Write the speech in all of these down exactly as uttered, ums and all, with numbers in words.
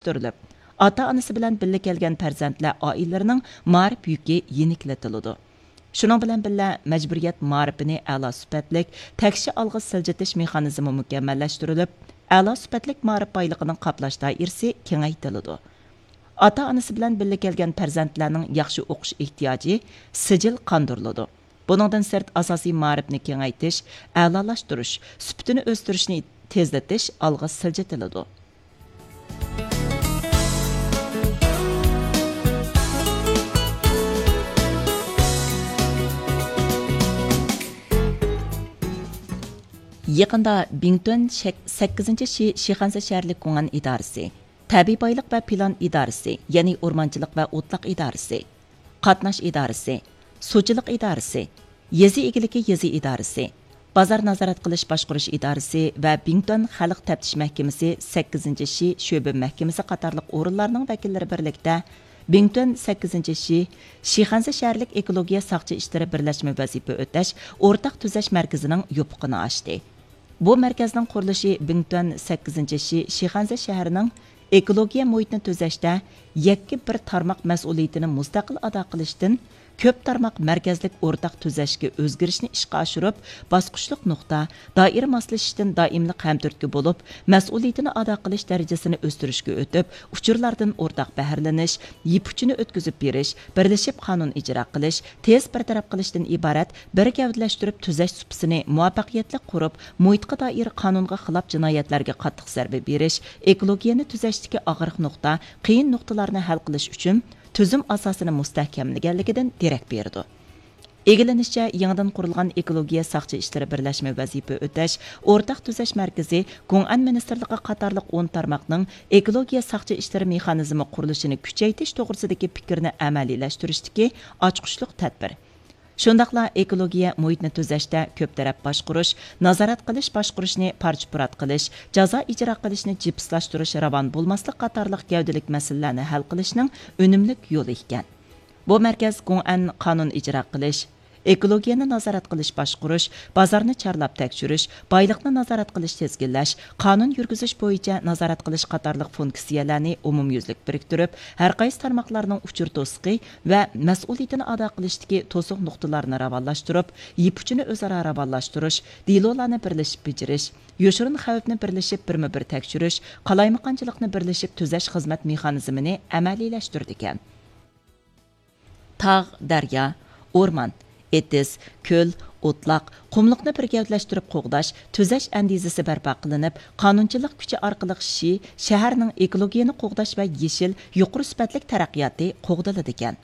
ئۆستۈرۈلۈپ، ئاتا-ئانىسى بىلەن بىللە كەلگەن پەرزەنتلەر ئائىلىلىرىنىڭ مائارىپ يۈكى يېنىكلىتىلىدۇ. شۇنىڭ بىلەن بىللە، مەجبۇرىيەت مائارىپىنى ئەلا سۈپەتلىك، تەكشى ئالغا سىلجىتىش مېخانىزمى مۇكەممەللەشتۈرۈلۈپ، ئەلا سۈپەتلىك مائارىپ بايلىقىنىڭ قاپلاش دائىرىسى كېڭەيتىلىدۇ. ئاتا-ئانىسى بىلەن بىللە كەلگەن پەرزەنتلەرنىڭ ياخشى ئوقۇش ئېھتىياجى سىجىل قاندۇرۇلىدۇ. بۇنىڭدىن سىرت، ئاساسىي مائارىپنى كېڭەيتىش، ئەلالاشتۇرۇش، سۈپىتىنى ئۆستۈرۈشنى تېزلىتىش ئالغا سىلجىتىلىدۇ. يېقىندا بىڭتۈەن شەك-، سەككىزىنچى شى-، شىخەنزە شەھەرلىك گۇڭئەن ئىدارىسى، تەبىئىي بايلىق ۋە پىلان ئىدارىسى، يەنى ئورمانچىلىق ۋە ئوتلاق ئىدارىسى، قاتناش ئىدارىسى، سۇچىلىق ئىدارىسى، يېزا ئىگىلىكى يېزا ئىدارىسى، بازار نازارەت قىلىش باشقۇرۇش ئىدارىسى ۋە بىڭتۈەن خەلق تەپتىش مەھكىمىسى سەككىزىنچى شى شۆبە مەھكىمىسى قاتارلىق ئورۇنلارنىڭ ۋەكىللىرى بىرلىكتە بىڭتۈەن سەككىزىنچى شى شىخەنزە شەھەرلىك ئېكولوگىيە ساقچى ئىشلىرى بىرلەشمە ۋەزىپە ئۆتەش ئورتاق تۈزەش مەركىزىنىڭ يوپۇقىنى ئاچتى. بۇ مەركەزنىڭ قۇرۇلۇشى بىڭتۈەن سەككىزىنچى شى شىخەنزە شەھىرىنىڭ ئېكولوگىيە مۇھىتنى تۈزەشتە يەككە بىر تارماق مەسئۇلىيىتىنى مۇستەقىل ئادا قىلىشتىن، كۆپ تارماق مەركەزلىك ئورتاق تۈزەشكە ئۆزگىرىشنى ئىشقا ئاشۇرۇپ، باسقۇچلۇق نۇقتا، دائىرە ماسلىشىشتىن دائىملىق ھەمتۈرتكە بولۇپ، مەسئۇلىيىتىنى ئادا قىلىش دەرىجىسىنى ئۆستۈرۈشكە ئۆتۈپ، ئۇچۇرلاردىن ئورتاق بەھرىلىنىش، يىپ ئۇچىنى ئۆتكۈزۈپ بېرىش، بىرلىشىپ قانۇن ئىجرا قىلىش، تېز بىر تەرەپ قىلىشتىن ئىبارەت بىر گەۋدىلەشتۈرۈپ تۈزەش سۇپىسىنى مۇۋەپپەقىيەتلىك قۇرۇپ، مۇھىتقا دائىر قانۇنغا خىلاپ جىنايەتلەرگە قاتتىق زەربە بېرىش، ئېكولوگىيەنى تۈزەشتىكى ئاغرىق نۇقتا، قىيىن نۇقتىلارنى ھەل قىلىش ئۈچۈن تۈزۈم ئاساسىنى مۇستەھكەملىگەنلىكىدىن دېرەك بېرىدۇ. ئىگىلىنىشىچە، يېڭىدىن قۇرۇلغان ئېكولوگىيە ساقچى ئىشلىرى بىرلەشمە ۋەزىپە ئۆتەش ئورتاق تۈزەش مەركىزى گۇڭئەن مىنىستىرلىقى قاتارلىق ئون تارماقنىڭ ئېكولوگىيە ساقچى ئىشلىرى مېخانىزمى قۇرۇلۇشىنى كۈچەيتىش توغرىسىدىكى پىكىرنى ئەمەلىيلەشتۈرۈشتىكى ئاچقۇچلۇق تەدبىر. شۇنداقلا ئېكولوگىيە مۇھىتنى تۈزەشتە كۆپ تەرەپ باشقۇرۇش، نازارەت قىلىش باشقۇرۇشنى پارچە-پۇرات قىلىش، جازا ئىجرا قىلىشنى جىپسلاشتۇرۇش راۋان بولماسلىق قاتارلىق گەۋدىلىك مەسىلىلەرنى ھەل قىلىشنىڭ ئۈنۈملۈك يولى ئىكەن. بۇ مەركەز گۇڭئەن قانۇن ئىجرا قىلىش، ئېكولوگىيەنى نازارەت قىلىش باشقۇرۇش، بازارنى چارلاپ تەكشۈرۈش، بايلىقنى نازارەت قىلىش تىزگىنلەش، قانۇن يۈرگۈزۈش بويىچە نازارەت قىلىش قاتارلىق فۇنكسىيەلەرنى ئومۇميۈزلۈك بىرىكتۈرۈپ، ھەرقايسى تارماقلارنىڭ ئۇچۇر توسۇقى ۋە مەسئۇلىيىتىنى ئادا قىلىشتىكى توسۇق نۇقتىلارنى راۋانلاشتۇرۇپ، يىپ ئۇچىنى ئۆزئارا راۋانلاشتۇرۇش، دېلولارنى بىرلىشىپ بېجىرىش، يوشۇرۇن خەۋپنى بىرلىشىپ بىرمۇ بىر تەكشۈرۈش، قالايمىقانچىلىقنى بىرلىشىپ تۈزەش خىزمەت مېخانىزمىنى ئەمەلىيلەشتۈرىدىكەن. تاغ، دەريا، ئورمان، ئېتىز، كۆل، ئوتلاق، قۇملۇقنى بىر گەۋدىلەشتۈرۈپ قوغداش، تۈزەش ئەندىزىسى بەرپا قىلىنىپ، قانۇنچىلىق كۈچى ئارقىلىق شى شەھەرنىڭ ئېكولوگىيەنى قوغداش ۋە يېشىل، يۇقىرى سۈپەتلىك تەرەققىياتى قوغدىلىدىكەن.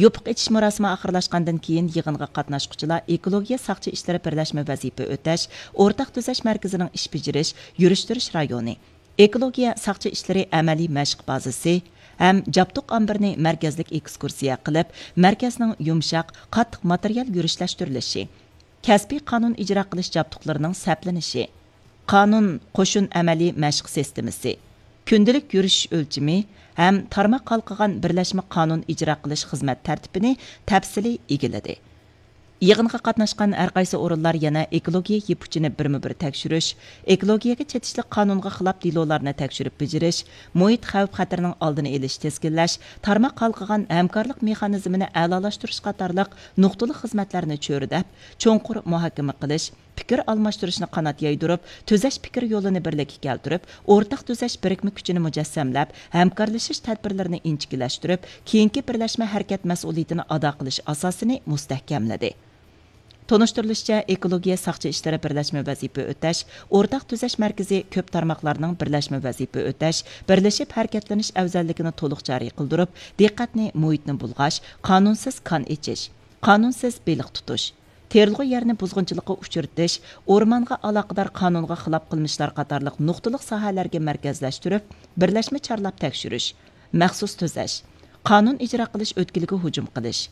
يوپۇق ئېچىش مۇراسىمى ئاخىرلاشقاندىن كېيىن، يىغىنغا قاتناشقۇچىلار ئېكولوگىيە ساقچى ئىشلىرى بىرلەشمە ۋەزىپە ئۆتەش ئورتاق تۈزەش مەركىزىنىڭ ئىش بېجىرىش، يۈرۈشتۈرۈش رايونى، ئېكولوگىيە ساقچى ئىشلىرى ئەمەلىي مەشىق بازىسى ھەم جابدۇق ئامبىرىنى مەركەزلىك ئېكسكۇرسىيە قىلىپ، مەركەزنىڭ يۇمشاق، قاتتىق ماتېرىيال يۈرۈشلەشتۈرۈلۈشى، كەسپىي قانۇن ئىجرا قىلىش جابدۇقلىرىنىڭ سەپلىنىشى، قانۇن، قوشۇن ئەمەلىي مەشىق سىستېمىسى، كۈندىلىك يۈرۈشۈش ئۆلچىمى ھەم تارماق ھالقىغان بىرلەشمە قانۇن ئىجرا قىلىش خىزمەت تەرتىپىنى تەپسىلىي ئىگىلىدى. يىغىنغا قاتناشقان ھەرقايسى ئورۇنلار يەنە ئېكولوگىيە يىپ ئۇچىنى بىرمۇ بىر تەكشۈرۈش، ئېكولوگىيەگە چېتىشلىق قانۇنغا خىلاپ دېلولارنى تەكشۈرۈپ بېجىرىش، مۇھىت خەۋپ خەتىرىنىڭ ئالدىنى ئېلىش، تىزگىنلەش، تارماق ھالقىغان ھەمكارلىق مېخانىزمىنى ئەلالاشتۇرۇش قاتارلىق نۇقتىلىق خىزمەتلەرنى چۆرىدەپ، چوڭقۇر مۇھاكىمە قىلىش، پىكىر ئالماشتۇرۇشنى قانات يايدۇرۇپ، تۈزەش پىكىر يولىنى بىرلىككە كەلتۈرۈپ، ئورتاق تۈزەش بىرىكمە كۈچىنى مۇجەسسەملەپ، ھەمكارلىشىش تەدبىرلىرىنى ئىنچىكىلەشتۈرۈپ، كېيىنكى بىرلەشمە ھەرىكەت مەسئۇلىيىتىنى ئادا قىلىش ئاساسىنى مۇستەھكەملىدى. تونۇشتۇرۇلۇشىچە، ئېكولوگىيە ساقچى ئىشلىرى بىرلەشمە ۋەزىپە ئۆتەش ئورتاق تۈزەش مەركىزى كۆپ تارماقلارنىڭ بىرلەشمە ۋەزىپە ئۆتەش، بىرلىشىپ ھەرىكەتلىنىش ئەۋزەللىكىنى تولۇق جارى قىلدۇرۇپ، دىققەتنى مۇھىتنى بۇلغاش، قانۇنسىز كان ئېچىش، قانۇنسىز بېلىق تۇتۇش، تېرىلغۇ يەرنى بۇزغۇنچىلىققا ئۇچرىتىش، ئورمانغا ئالاقىدار قانۇنغا خىلاپ قىلمىشلار قاتارلىق نۇقتىلىق ساھەلەرگە مەركەزلەشتۈرۈپ، بىرلەشمە چارلاپ تەكشۈرۈش، مەخسۇس تۈزەش، قانۇن ئىجرا قىلىش ئۆتكىلىگە ھۇجۇم قىلىش،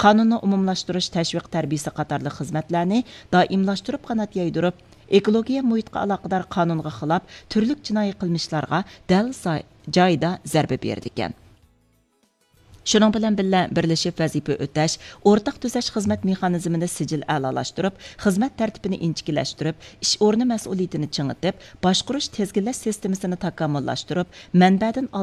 قانۇننى ئومۇملاشتۇرۇش، تەشۋىق تەربىيىسى قاتارلىق خىزمەتلەرنى دائىملاشتۇرۇپ قانات يايدۇرۇپ، ئېكولوگىيە مۇھىتقا ئالاقىدار قانۇنغا خىلاپ تۈرلۈك جىنايى قىلمىشلارغا دەل زاي-، جايىدا زەربە بېرىدىكەن. شۇنىڭ بىلەن بىللە، بىرلىشىپ ۋەزىپە ئۆتەش، ئورتاق تۈزەش خىزمەت مېخانىزمىنى سىجىل ئەلالاشتۇرۇپ، خىزمەت تەرتىپىنى ئىنچىكىلەشتۈرۈپ، ئىش ئورنى مەسئۇلىيىتىنى چىڭىتىپ، باشقۇرۇش تىزگىنلەش سىستېمىسىنى تاكامۇللاشتۇرۇپ، مەنبەدىن